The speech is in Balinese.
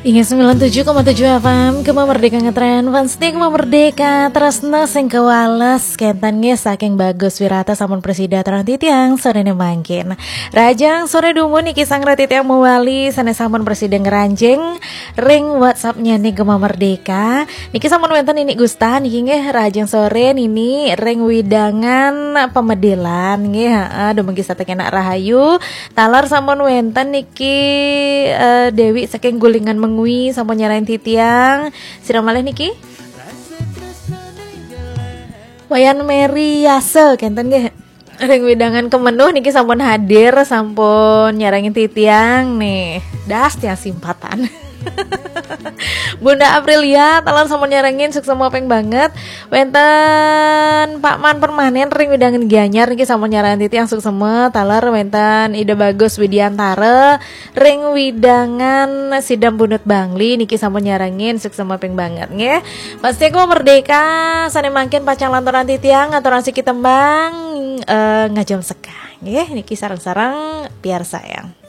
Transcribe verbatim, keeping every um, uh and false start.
Inggih sembilan tujuh koma tujuh F M, Gema Merdeka ngetren, fans Gema Merdeka, tresna sing kewales, kenten nggih saking Bagus Wirata sampun prasida aturang titiang sorene mangkin. Rahajeng sore dumun niki sang titiang mawali sane sampun prasida ngranjing ring WhatsApp-nyane Gema Merdeka. Niki sampun wenten Nini Gusta niki nggih, rahajeng sore Nini ring wewidangan Pamedilan nggih, heeh, dumugi sampun kenak rahayu. Taler sampun wenten niki, eh, Dewi saking Gulingan Mengwi sampun nyarengin titiang. Sira malih niki? Wayan Meri Yase kenten nggih. Ring wewidangan Kemenuh niki sampun hadir, sampun nyarengin titiang nih. Das tiang simpatan. Bunda Aprilia, taler sampun nyarengin, suksma ping banget. Wenten Pak Man Permanen ring wewidangan Gianyar niki sampun nyarengin titiang, suksma. Taler wenten Ida Bagus Widiantara ring wewidangan Sidam Bunut Bangli niki sampun nyarengin, suksma ping banget nggih. Fans Gema Merdeka sane mangkin pacang lanturang titiang aturang siki tembang, eh, Ngajum Sekar nggih, niki sareng-sareng piarsayang.